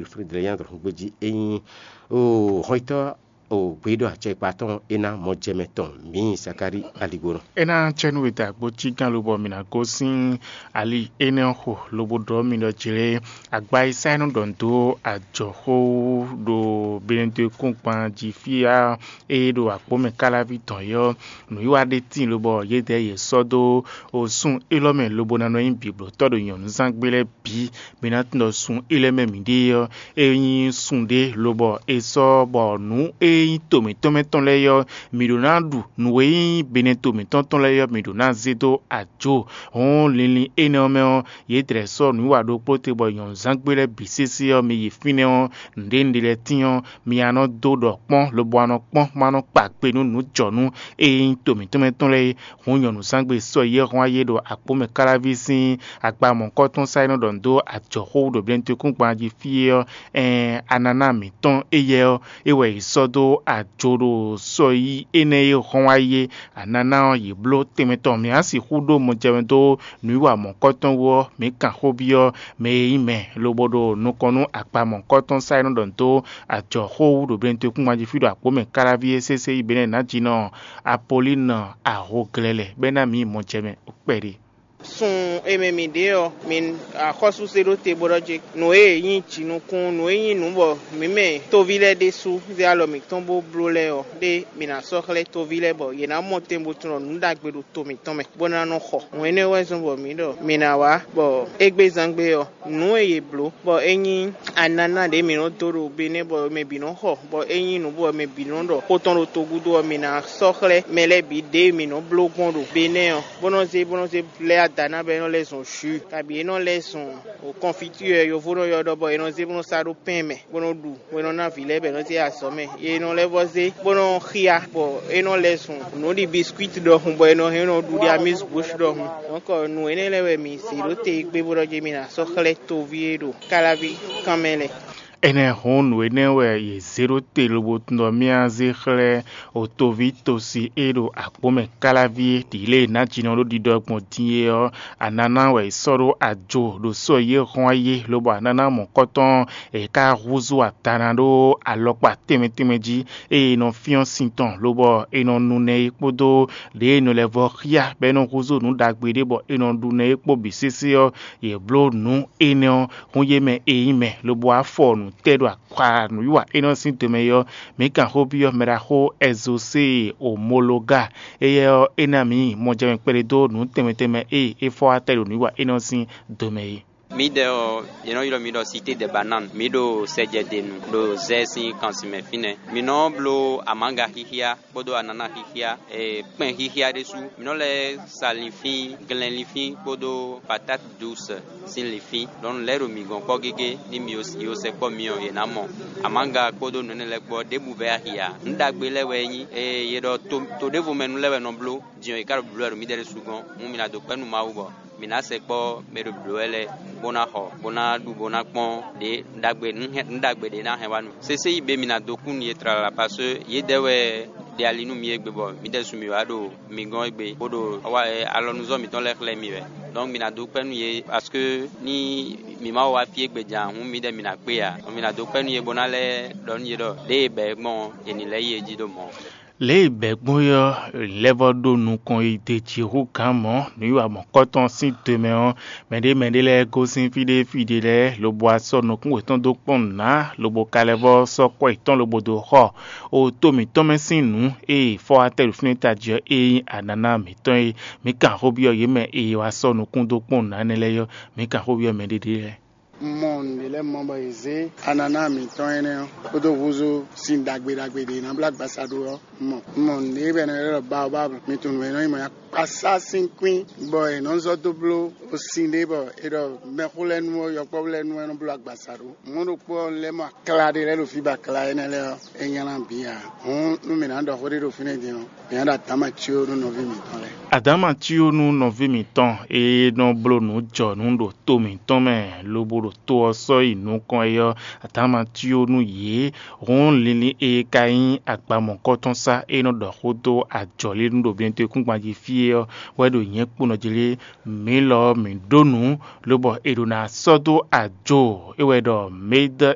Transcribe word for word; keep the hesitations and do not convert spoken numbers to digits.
Frédéric André gbé jí é nyí o hɔnyitɔ́ o gbeyíɖɔ acɛkpa tɔn é ná mɔjɛmɛ tɔn mǐ Zakári Aligbonɔ. É ná cɛ́nú e da agbo cí gán lobɔ mǐ ná gosín ali énɛ́ ɔ́ xo lobo ɖɔ mì ɖɔ jlé agba e sá é nɔ ɖɔ nǔ dó ajɔ̌xó ɖo Benedekúngban jí fí ɔ́, ée ɖo akpó mɛ káláví tɔn é ɔ́, nǔwiwa ɖé tíin lobɔ yědɛɛ yě sɔ́ dó o sun élɔ́ mɛ lobo ná nɔ nyí bǐblótɔ́ ɖo nyɔ̌nuzángbe lɛ́ɛ bǐ. Mi ná tunwun ɖɔ sun élɔ́ mɛ mǐɖée ɔ́, é nyí sun ɖé lobɔ è sɔ́ bɔ nǔ e nyí to mǐtɔn mɛ tɔn lɛ́ɛ ɔ́, mǐ ɖó ná ɖu; nǔ e nyí benɛ́ to mǐtɔn tɔn lɛ́ɛ ɔ́, mǐ ɖó ná zé dó ajo. Hɔn linlin énɛ́ ɔ́ mɛ ɔ́, yě dlɛ̌ sɔ́ nǔwiwa ɖokpó te bɔ nyɔ̌nuzángbe lɛ́ɛ bǐ sésé ɔ́, mi yi fínɛ́ ɔ́, nǔɖé nǔɖé lɛ́ɛ tíin ɔ́, mi ná nɔ dó ɖɔ kpɔ́n, lobo wá nɔ kpɔ́n, ma nɔ kpa gbe nú nǔjɔnú e nyí to mǐtɔn mɛ tɔn lɛ́ɛ é. Hǔn nyɔ̌nuzángbe sɔ́ yi e hɔn ayé ɖo akpó mɛ káláví sín agba mɔ̌hunkɔtɔn sá e nɔ ɖɔ nǔ dó ajɔ̌xó wú ɖo Blɛ́nútɔ́kúngban jí fí é ɔ́, ɛɛn, ananá mǐtɔn éyɛ́ ɔ́, é wɛ è sɔ́ dó ajo ɖo sɔ́ yi énɛ́ e hɔn ayé. Ananá ɔ́, yě bló tɛnmɛ tɔn mǐ á sixú ɖó mɔjɛmɛ dó nǔwiwa mɔ̌hunkɔtɔn wú ɔ́, mǐ kan xó byɔ́ mɛ e nyí mɛ lobo ɖo nukɔn nú akpa mɔ̌hunkɔtɔn sá e nɔ ɖɔ nǔ dó ajɔ̌xó wú ɖo Blɛ́nútɔ́kúngban jí fí ɖo akpó mɛ káláví é sésé yi bɛ́nɛ́ nǎjínɔ Apolínu ahoglɛ́lɛ́ bɔ é ná mǐ yi mɔjɛmɛ kpɛɖé. Sun e mɛ mǐ ɖe ɔ́, mi axɔ́súse ɖó te bó ɖɔ jé. Nǔ e nyí jǐnukún, nǔ e nyí nǔ bɔ mǐ mɛ toví lɛ́ɛ ɖésú zé alɔ mǐtɔn bó bló lɛ́ɛ ɔ́, ɖé mǐ ná sɔ́ xlɛ́ toví lɛ́ɛ bɔ yě ná mɔ tɛn bó tunɔ nǔ ɖagbe ɖo to mǐtɔn mɛ, bó ná nɔ xɔ. Hǔn énɛ́ wɛ zɔ́n bɔ mǐ ɖɔ mǐ ná wá, bɔ égbé zán gbe ɔ́, nǔ e yě bló bɔ é nyí ananá ɖě mǐ nɔ dó ɖo Benɛ́ bɔ mɛ bǐ nɔ xɔ, bɔ é nyí nǔ bɔ mɛ bǐ nɔ ɖɔ xó tɔn ɖo togúdo ɔ́, mǐ ná sɔ́ xlɛ́ mɛ lɛ́ɛ bǐ ɖěe mǐ nɔ bló gbɔn ɖo Benɛ́ ɔ́, bó nɔ zé bó nɔ zé lɛ́ ada ná bɔ é nɔ lɛ́ zɔn jǔ, kabǐ é nɔ lɛ́ zɔn kɔnfitúɛ yovó nɔ ylɔ́ ɖɔ bɔ è nɔ zé bó nɔ sá ɖó pɛ́n mɛ bó nɔ ɖu, bó nɔ ná vǐ lɛ́ɛ bɔ è nɔ zé yi azɔ̌ mɛ. È nɔ lɛ́ vɔ́ zé bó nɔ xyá bɔ é nɔ lɛ́ zɔn nǔ ɖi biscuit ɖɔhun bɔ è nɔ hɛn nɔ ɖu ɖi amuse bouche ɖɔhun. Donc nǔ énɛ́ lɛ́ɛ wɛ mǐ zě ɖó te gbé bó ɖɔ jí mǐ ná sɔ́ xlɛ́ toví e ɖo káláví kan mɛ lɛ́ɛ. Énɛ́ hɔn nǔ énɛ́ wɛ yě zé ɖó te lobo tunwun ɖɔ mía zé xlɛ́ otoví tosi e ɖo akpó mɛ káláví é ɖǐ lě e nǎjínɔ ɖó ɖiɖɔ gbɔn din é ɔ́, ananá wɛ è sɔ́ ɖó ajo ɖo sɔ́ yi e hɔn ayé, lobo ananá mɔ̌kɔtɔn è ka húzú atana ɖó alɔkpa tɛnmɛ tɛnmɛ jí, eye è nɔ fyɔ́n sin tɔn, lobɔ è nɔ nu nɛ é kpódó ɖě è nɔ lɛ́ vɔ́ xyá bɔ é nɔ húzú nǔ ɖagbe ɖé bɔ è nɔ ɖu nɛ é kpó bǐ sésé ɔ́, yě bló nǔ énɛ́ ɔ́ hún yě mɛ e nyí mɛ, lobo wá fɔ nǔ tɛ́ ɖo akpa nǔwiwa énɛ́ ɔ́ sín do mɛ é ɔ́, mǐ kan xó byɔ́ mɛɖaxó Ɛzosée Omologa. Éyɛ́ ɔ́, é ná mǐ mɔjɛmɛ kpɛɖé dó nǔ tɛnmɛ tɛnmɛ e é fɔ wá tɛ́ ɖo nǔwiwa énɛ́ ɔ́ sín do mɛ é. Mídɛɛ ɔ́, yě nɔ ylɔ́ mǐ ɖɔ Cité des Bananes. Mǐ ɖo sɛjɛdenu ɖo zɛ sín kansin mɛ fínɛ́. Mǐ nɔ bló amǎga xíxíá kpódó ananá xíxíá, e, kpɛn xíxíá ɖésú. Mǐ nɔ lɛ́ sa linfín, glɛn linfín kpódó patate douce sín linfín. Ɖɔ̌nu lɛ́ɛ ɖo mǐ gɔ́n kpɔ́ gégé, ní mǐ yi sɛkpɔ́ myɔ yě ná mɔ. Amǎga kpódó nǔ énɛ́ lɛ́ɛ kpó ɔ́, ɖěbǔ vɛ́ axi ǎ. Nǔ ɖagbe lɛ́ɛ wɛ é nyí, ée yě ɖɔ to, to ɖěvo mɛ nu lɛ́ɛ wɛ nɔ bló, din ɔ́, yě ká ɖo blǒ wɛ ɖo mǐdɛɛ ɖésú gɔ́n. Hǔn mǐ ná dó kpɛ́ nú Mawu bɔ mǐ ná sɛkpɔ́ mɛ e ɖo blǒ wɛ lɛ́ɛ, bó ná xɔ, bó ná ɖu, bó ná kpɔ́n ɖě ɖagbe, nǔ hɛn, nǔ ɖagbe ɖě ná hɛn wá nú mì. Sésé yi bě mǐ ná dó kú nú yě tlala, paseke yědɛɛ wɛ ɖe ali nú mǐ égbé bɔ mǐdɛɛ ɖésú mǐ wá ɖo mi gɔ́n égbé, bó ɖo alɔnuzɔ́ mǐtɔn lɛ́ɛ xlɛ́ mì wɛ. Donc mǐ ná dó kpɛ́ nú yě, paseke ní mǐ ma wá fí égbé jan hǔn mǐdɛɛ mǐ ná kpé ǎ. Donc mǐ ná dó kpɛ́ nú yě bó ná lɛ́ ɖɔ nú yě ɖɔ lě e è bɛ̌ gbɔn ɔ́, è nǐ lɛ́ yi é jí ɖo mɔ̌. Lě e bɛ̌ gbɔn é ɔ́, è lɛ́ vɔ́ ɖó nukɔn yi d'é jí hú gǎn mɔ̌, nǔwiwa mɔ̌kɔtɔn sín do mɛ ɔ́, mɛɖé mɛɖé lɛ́ɛ gosín fí ɖé fí ɖé lɛ́ɛ, lobo wá sɔ́ nukún yětɔn dó kpɔ́n nǔ ná, lobo ka lɛ́ vɔ́ sɔ́ kwɛ́ yětɔn lobo dó xɔ o to mǐtɔn mɛ sín nǔ e è fɔ wá tɛ́ ɖo fínɛ́ tají ɔ́, e nyí ananá mǐtɔn é. Mǐ kan xó byɔ́ yě mɛ e è wá sɔ́ nukún dó kpɔ́n nǔ ná énɛ́ lɛ́ɛ é ɔ́, mǐ kan xó byɔ́ mɛɖé ɖé lɛ́ɛ. Un mɔ nǔɖé lɛ́ɛ mɔ bɔ yě zé ananá mǐtɔn énɛ́ ɔ́ kpódó húzú sin ɖagbe ɖagbe ɖě ná bló agbaza ɖó ɔ́, un mɔ. Un mɔ nǔɖé bɔ è nɔ ylɔ́ ɖɔ baobab, mi tunwun nǔ e nɔ nyí mɔ̌ akpasá sín kwín, bɔ è nɔ zɔ́ dó bló sin ɖé bɔ è ɖɔ mɛxó lɛ́ɛ nu ɔ́, yɔkpɔ́vú lɛ́ɛ nu ɔ́, é nɔ bló agbaza ɖó. Mɔ̌ ɖokpó ɔ́, un lɛ́ mɔ akla ɖé lɛ́ɛ ɖo fí bɔ akla énɛ́ lɛ́ɛ ɔ́, é nylá bǐ ǎ. Hǔn nú mǐ ná ɖɔ xó ɖé ɖo fínɛ́ din ɔ́, mǐ ná ɖo adǎma cyó nú nɔví mǐtɔn lɛ́ɛ. Adǎma cyó nú nɔví mǐtɔn e nɔ bló nǔ jɔ nǔ ɖo to mǐtɔn mɛ, lobo ɖo to ɔ́ sɔ́ yi nukɔn é ɔ́, adǎma cyó nú yě. Hǔn linlin e ka nyí agba mɔ̌kɔtɔn sá e nɔ ɖɔ xó dó ajɔ̌línú ɖo Benɛ́tɔ́kúngban jí fí é ɔ́ wɛ ɖo nyɛ̌ kpónɔ jí lé. Mǐ lɔ ɔ́, mǐ ɖó nǔ, lobɔ è ɖǒ ná sɔ́ dó ajo, é wɛ ɖɔ Mɛ́dɔ